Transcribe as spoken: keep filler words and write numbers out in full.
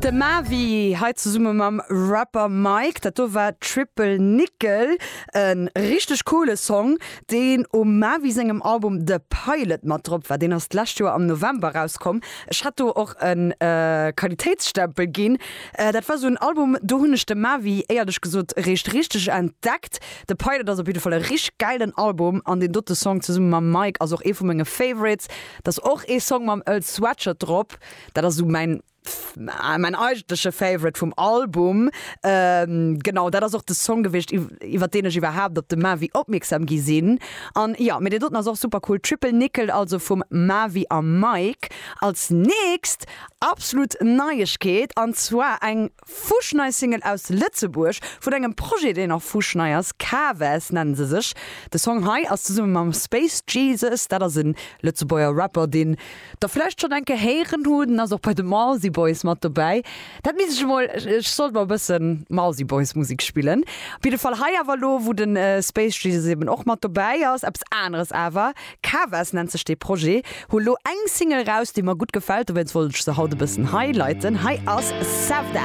De Mavi hei zesumme mam Rapper Mike, dat do war Triple Nickel, e richteg coole Song, deen um Mavi sengem Album The Pilot mat drop war. Deen ass d'lescht Joer am November rauskomm. Ech hat do och e Qualitéitsstempel ginn. Dat war sou en Album, do hunn ech de Mavi éierlech gesot réischt richteg entdeckt. The Pilot ass op jidde Fall e richteg gäilen Album an deen dote Song zesumme mam Mike ass och ee vu menge Favorites. Dat ass och ee Song mam Earl Sweatshirt drop, dat ass sou mäin mäin eigentleche Favorite vum Album. Ähm, genau, dat ass och de Song gewiescht, iwwer deen ech iwwerhaapt op de Mavi opmierksam gi sinn. An ja, mee deen doten ass och super cool. Triple Nickel also vum Mavi a Mike. Als nächst absolut Neiegkeet, an zwar eng fuschnei Single aus Lëtzebuerg vun engem Projet, deen och fuschnei ass, Kaves nennen se sech. De Song hei ass zesumme mam Space Jesus, dat ass e Lëtzebuerger Rapper, deen der vläicht schonn eng Kéier héieren hutt, en ass och bei de Mausi Boys mat dobäi. Dat misst ech emol, ech sollt mol e bëssen Mausi Boys Musek spillen. Op jidde Fall hei awer elo, wou de Space Jesus eben och mat dobäi ass, eppes aneres awer. Kaves nennt sech dee Projet, hu lo eng Single raus, déi mer gutt gefält, dowéinst wollt ech se haut e bëssen highlighten. Hei ass Sevda.